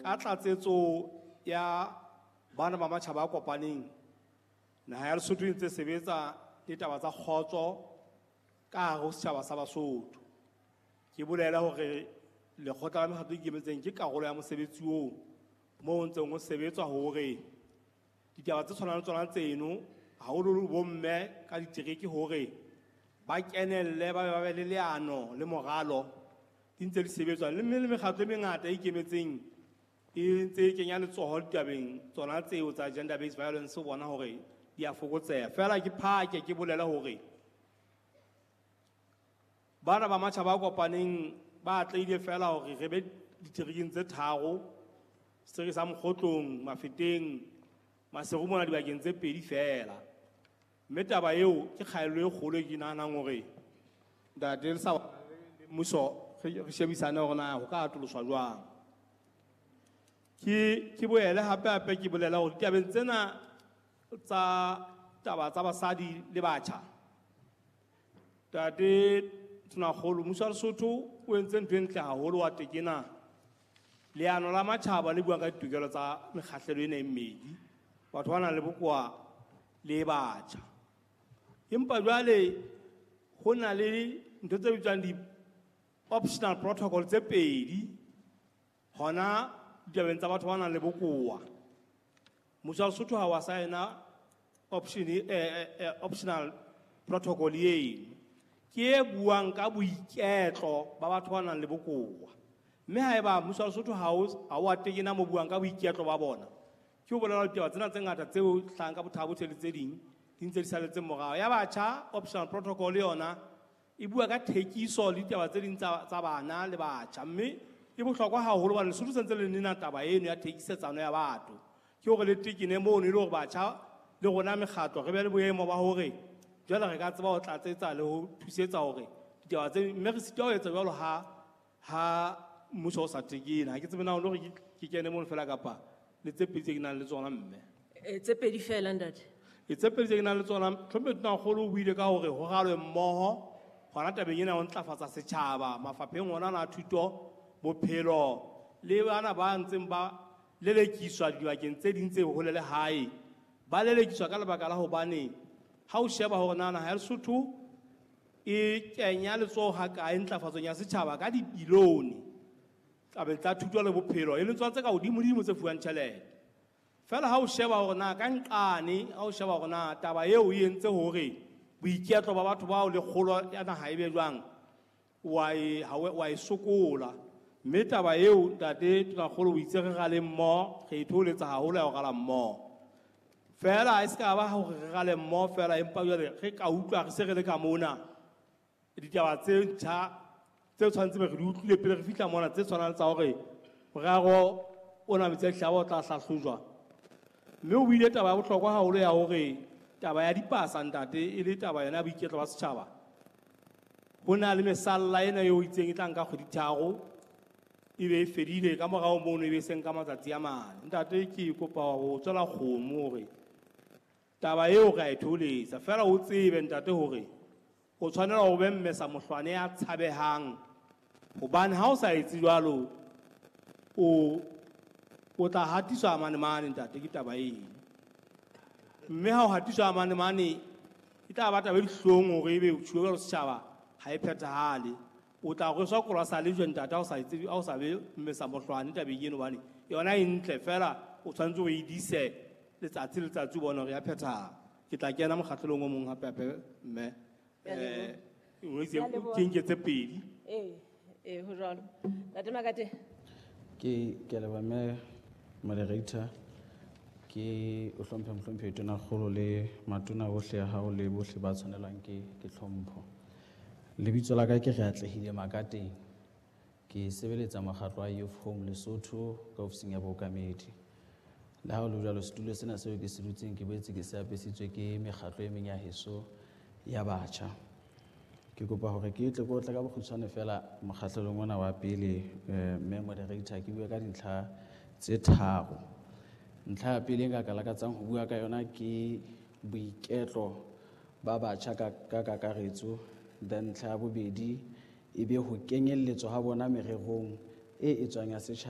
Ka tlatsetso ya bana ba matjhaba a kopaneng, naha ya Lesotho e ntse sebetsa le taba tsa kgotso ka hare ho setjhaba sa Basotho. Ke bolela hore lekgotla la mekgatlo e ikemetseng ke karolo ya mosebetsi oo moo ho ntseng ho sebetswa hore ditaba tse tshwanang le tsona tseno, haholoholo bomme ka ditereke hore ba kenelle, ba be le leano le moralo, di ntse di sebetswa. Le mme le mekgatlo e mengata e ikemetseng e ntse e kenya letsoho ditabeng tsona tseo tsa gender based violence ho bona hore di a fokotseha. Feela ke phake ke bolele hore bana ba matjhaba a kopaneng ba atlehile feela hore re be diterekeng tse tharo, setereke sa Mokgotlong, Mafeteng, Maseru mona dibakeng tse pedi feela. Mme taba eo ke kgaello e kgolo e ke nahanang hore ntate le sa mmuso re shebisane hore na ho ka atoloswa jwang. Ke boele hape hape ke bolela hore ditabeng tsena tsa taba tsa basadi le batjha, ntate Tonakgolo, mmuso wa Lesotho o entse ntho e ntle haholo wa tekena leano la matjhaba le buang ka ditokelo tsa mekgahlelo ena e mmedi, batho ba nang le bokowa le batjha. Empa jwale ho na le ntho tse bitswang di-optional protocol tse pedi hona ditabeng tsa batho ba nang le bokowa. Mmuso wa Lesotho ha wa saena optional protocol eno, ke e buang ka boiketlo ba batho ba nang le bokowa. Mme haeba mmuso wa Lesotho ha o a tekena mo buang ka boiketlo ba bona, ke ho bolela ditaba tsena tse ngata tseo hlahang ka Botha-Bothe le tse ding di ntse di saletse morao. Ya batjha, optional protocol yona e bua ka thekiso le ditaba tse ding tsa bana le batjha, mme e bohlokwa haholo hobane Lesotho sentse le nena taba eno ya thekisetsano ya batho. Ke hore le tekene mono e le hore batjha le rona mekgatlo re be le boemo ba hore jwale re ka tseba ho tlatsetsa le ho thusetsa hore ditaba tse, mme re sitwa ho etsa jwalo ha mmuso o sa tekene. Ha ke tsebe na o lo re ke kene mono fela kapa le tse pedi tse ke nang le tsona mme. Tse pedi fela ntate. E tse pedi tse ke nang le tsona, Tlhomphe Tonakgolo o buile ka hore ho ralwe mmoho hona tabeng ena ho ntlafatsa setjhaba mafapheng ona a thuto, bophelo le bana ba ntseng ba lelekiswa dibakeng tse ding tse hole le hae. Ba lelekiswa ka lebaka la hobane ha o sheba hore na naha ya Lesotho e kenya letsoho ha kae ntlafatsong ya setjhaba ka dibilione tabeng tsa thuto le bophelo, e leng tsona tse ka hodimodimo tse fuwang tjhelete. Feela ha o sheba hore na ka nqane, ha o sheba hore na taba eo e entse hore boiketlo ba batho bao le kgolo ya naha e be jwang, wa e sokola. Mme taba eo ntate Tonakgolo o itse re rale mmoho, re e thoholetsa haholo ya ho rala mmoho. Feela e se ka ba hore re rale mmoho feela, empa jwale re ka utlwa re se re le ka mona ditaba tse ntjha tse tshwanetseng re di utlwile pele re fihla mona, tse tshwanang le tsa hore morero ona metsi a dihlaba o tla hlahlojwa. Mme o buile taba ya bohlokwa haholo ya hore taba ya dipasa ntate e le taba yona ya boiketlo ba setjhaba. Ho na le mesalla ena eo itseng e tla nka kgwedi tharo e be e fedile, ka morao mono e be e seng ka matsatsi a mane. Ntate ke kopa ho tswela kgomo hore taba eo re a e thoholetsa, feela o tsebe ntate hore o tshwanela ho be mmesa mohlwane ya tshabehang, hobane ha o sa etse jwalo o tla hatiswa mane mane ntate, ke taba eno. Mme ha o hatiswa mane mane e tla ba taba e dihlong hore ebe o tjhuwe jwalo setjhaba ha e phethahale. O tla rweswa kolwa sa lejwe ntate ha o sa etse, ha o sa be mmesa mohlwane tabeng eno, hobane yona e ntle feela o tshwanetse o e dise letsatsi le letsatsi o bone hore ya phethahala. Ke tla kena mokgahlelong o mong hape hape mme. Ke a leboha. O itse Ke a leboha. ke nke tse pedi. Ee, ho jwalo. Ntate Makate. Ke a leboha mme moderator. Ke o hlomphe mohlomphehi Tonakgolo le matona ohle a hao le bohle ba tshwanelwang ke tlhompho. Lebitso la ka ke Reatlehile Makateng. Ke sebeletsa mokgatlo wa Youth Home Lesotho ka ofising ya bookamedi. Le ha ho le jwalo, setulo sena seo ke se dutseng ke boetse ke se apesitswe ke mekgatlo e meng ya heso ya batjha. Ke kopa hore ke tle ke otle ka bokgutshwane fela mokgahlelong ona wa pele, mme moderator, ke bue ka dintlha tse tharo. Ntlha ya pele e nka ka lakatsang ho bua ka yona ke boiketlo ba batjha ka kakaretso. Then ntlha ya bobedi e be ho kenyelletswa ha bona mererong e etswang ya setjhaba.